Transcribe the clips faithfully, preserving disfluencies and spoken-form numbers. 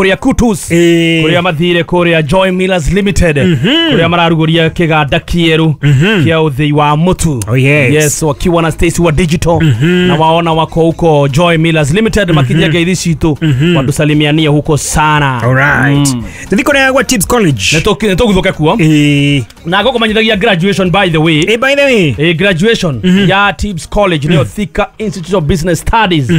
Kuria Kutus, Ĩĩ. kuria mathire kuria Joy Millers Limited, kuria mararuguria kiganda kieru kia uthii wa mutu. Oh, yes. Yes, wakiwa na Stacy wa digital na waona wako huko Joy Millers Limited makijia ngeithi citu watusalimianie huko sana. Alright. Tuthi kuria gwa Tips College. Nitũguthuke kuo. Ĩĩ. Na ngũkũmenyithagia graduation, by the way. Ĩ, by the way. A graduation ya Tips College, nĩyo Thika Institute of Business Studies,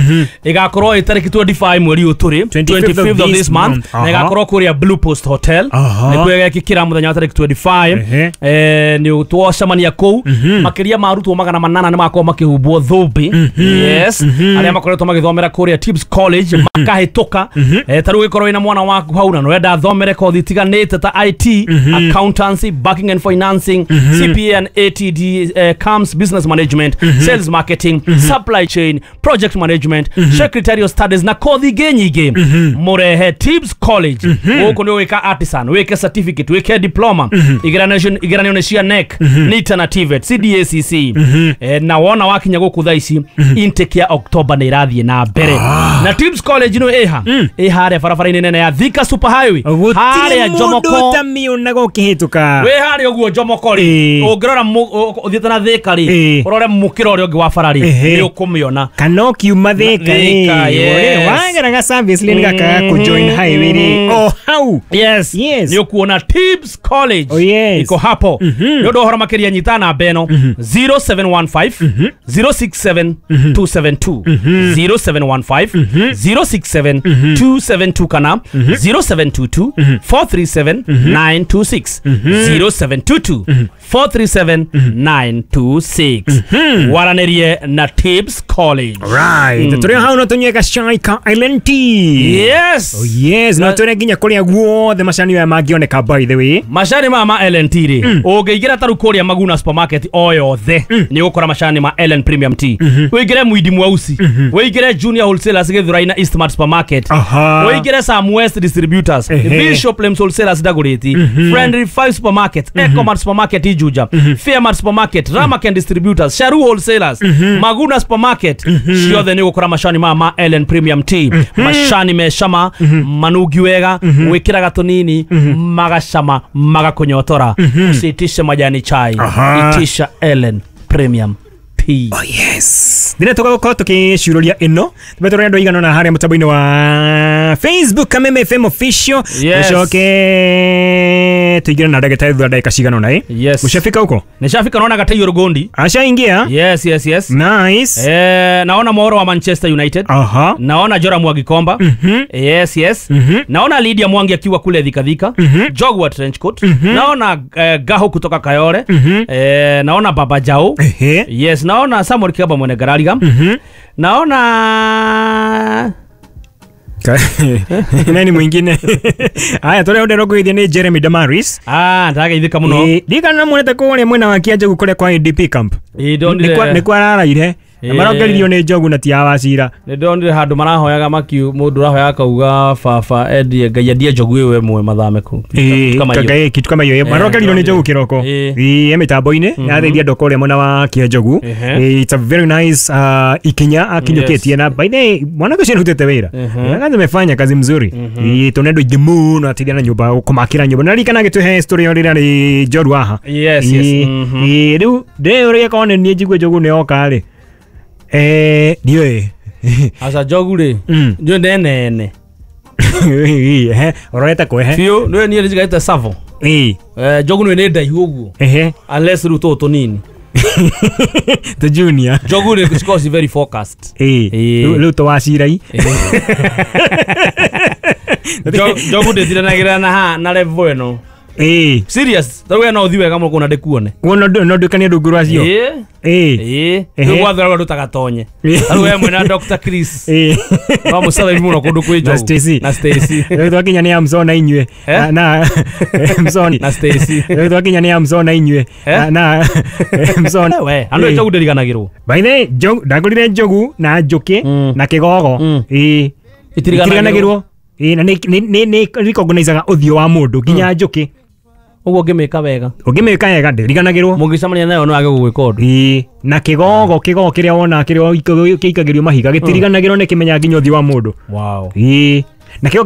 ĩgakorwo ĩ tarĩki mĩrongo ĩĩrĩ na ithano mweri ũyũ tũrĩ, twenty-fifth of this month, month. na Aha. ĩgakorwo kũrĩa Blue Post Hotel. Aha. Nĩkuo ĩgekĩkĩra mũthenya wa tarĩki mĩrongo ĩĩrĩ na ithano. Ehe. Eh, nĩ twacemania kũu, makĩria ma arutwo magana manana nĩ makorwo makĩhumbwo thũmbĩ, yes, arĩa makoretwo magĩthomera kũrĩa Tips College makahĩtũka. Eh, ta rĩu ũgĩkorwo wĩna mwana waku hau na nĩwenda athomere kothi itiganĩte ta I T, accountancy, banking and financing, C P A and A T D, eh, CAMS, business management, sales marketing, supply chain, project management, secretarial studies na kothi ingĩ nyingĩ, mũrehe Tips College gũkũ. Nĩ ũgwĩka artisan, wĩke certificate, wĩke diploma. Igeranio igeranio nĩ cia K N E C, NITA na TVET, C D A C C. Eh, na wona wakinya gũkũ thaa ici intake ya October nĩ ĩrathiĩ na mbere. Na Tips College nĩ ĩha ĩ harĩa barabara-inĩ nene ya Thika Super Highway, Gũtirĩ harĩa mũndũ Jomoko. ũtamĩonaga ũkĩhĩtũka. Wĩ harĩa ũguo Jomoko rĩ, Ĩĩ. ũngĩrora mũ- ũ- ũthiĩte na Thika rĩ, Ĩĩ. ũrore mũkĩra ũrĩa ũngĩ wa bara rĩ, Ehe. nĩ ũkũmĩona. Kana ũkiuma Thika. Thika, yes. Wageraga service lane gaka kũ join highway rĩ, o hau. Yes. Yes. Nĩ ũkuona Tips College. Oh, yes. Iko hapo. Nĩ ũndũ wa ũhoro makĩria, nyita namba ĩno zero seven one five zero six seven two seven two, zero seven one five zero six seven two seven two, kana zero seven two two four three seven nine two six, zero seven two two four three seven nine two six. Waranĩrie na Tips College. Right, tũrĩ hau no tũnyue gacai ka Island Tea. Yes. Oh yes, no tũrĩ nginya kũrĩa guothe macani maya mangĩoneka, by the way. Macani maya ma L N T rĩ, ũngĩingĩra taru kũrĩa Maguna supermarket o yothe nĩ ũgũkora macani ma L N Premium Tea. Ũingĩre Mwindi Mweusi, ũingĩre Junior Wholesalers Gĩthũrai na Eastmart Supermarket, Aha. ũingĩre Sam West Distributors, Ehe. Bishop Lems Wholesalers Dagoretti, Friendly Five Supermarket, Ecomart Supermarket Ijuja, Fairmart Supermarket, Ramaken Distributors, Sharu Wholesalers, Maguna Supermarket, ciothe nĩ ũgũkora macani maya ma L N Premium Tea. Macani me cama, manungi wega, wĩkĩraga tũnini magacama magakũnyotora. Usiitishe majani chai. Aha. Itisha L N Premium Tea. Oh yes. Ndĩrĩa tũgagũkorwo tũkĩcururia ĩno tũbe tũrĩ andũ aigana ũna harĩa mũtambo-inĩ wa Facebook, Kameme F M Official. Yes. Tũcoke tũingĩre na ndagĩtarĩ thutha wa ndagĩka cigana ũna ĩ. Yes. Ushafika huko? Nishafika, naona Gataiyo Rugondi. Ashaingia? Yes yes yes Nice. Eh, naona Mwauro wa Manchester United. Aha. Naona Jora Mwagikomba. Yes yes naona Lydia Mwangi akiwa kule Thika Thika, Jogwa Trenchcoat. Naona eh, Gaho kutoka Kayore. eh, naona Baba Jao. Ehe. Yes, naona Samuel Kiaba mwene Garariga. Naona Ka- nani mwingine? Haya, tũrĩa ũndero ngũgeithia nĩ Jeremy Damaris. Ah, ndageithĩka mũno. Ĩ, ndirikana muonete kũrĩa mwena wa Kianjagu kũrĩa kwa A D P camp. Ĩ, ndonire. Nĩ kwa araraire na Ĩ. marongeririo nĩ njogu na ti awacira. Nĩ ndonire handũ marahoyaga makiu, mũndũ ũrahoyaga akauga baba endie, Ngai endie njogu ĩyo ĩmwe mathame kũ. Ĩ, Kama hiyo. kanga- kitu kama hiyo marongeririo nĩ njogu kĩroko. Ĩ. Ĩ, mĩtambo-inĩ yateithia andũ kũrĩa mwena wa Kianjagu. Ehe. Ĩ, it's a very nice uh, ikinya akinyũkĩtie. Yes. Na by the way, mwanake ũcio nĩarutĩte wĩra. Mhm. Kazi amefanya kazi mzuri. Ĩ, tũnĩ andũ aingĩ mũno ateithia na nyũmba, kũmakĩra nyũmba, na ririkana agĩtũhe story ĩyo rĩrĩa arĩ njorua haha. Yes, yes. Ĩ, Mhm. ĩ, rĩu ndĩũrĩe korwo nĩ niĩ njigue njogu nĩ yoka rĩ, eh, ndiũĩ. Aca, njogu rĩ, Mm. njũĩ nene Ehe, ũrorete kwehe. Biũ nĩwe niĩ njigarĩte savo. Ĩ. Eh, njogu nĩ nĩ ndaihu ũguo. Ehe. Unless rĩu tũtũ tũnini. The junior. Njogu rĩ, cikoragwo ci very focused. Ĩ. Ĩ. Rĩu rĩu tũwacirai. Njo- njogu ndĩtiranagĩra na ha na level ĩno. Ĩ. Serious, tarĩu we no ũthiĩ wega mũno kũna ndĩkuone. Kuona no nduĩkanie rungu rwacio. Ĩ. Ĩ. Ĩ. Ehe. Rĩu gwathũra ndũtagatonye. Ĩ. Tarĩu we mwena Doctor Chris Ĩ. no mũcarabi mũno kũndũ kwĩ Na njogu. Stacy. Na Stacy. Rĩu twakinya nĩ Amson na inyuĩ. Eh? Na- na Amson. Na Stacy. Rĩu twakinya nĩ Amson na inyuĩ. Eh? Na- na Amson. We andũ Ĩ. njogu ndĩriganagĩrwo. By the way, njogu ndagũrire njogu na njũkĩ Mm. na kĩgogo. Mm. Ĩ. Itiriganagĩrwo. Itiriganagĩrwo. Ĩ, na nĩ nĩ nĩ recognizaga ũthiũ wa mũndũ nginya njũkĩ. Ũguo ũngĩmĩka wega. Ũngĩmĩka wega ndĩriganagĩrwo. Mũngĩcemania nayo no age gũgwĩka ũndũ. Ĩ, na kĩgogo kĩgogo kĩrĩa wona kĩrĩa kĩikagĩrio mahiga gĩtiriganagĩrwo, nĩ kĩmenyaga nginya ũthiũ wa mũndũ. Wow. Ĩ, na kĩo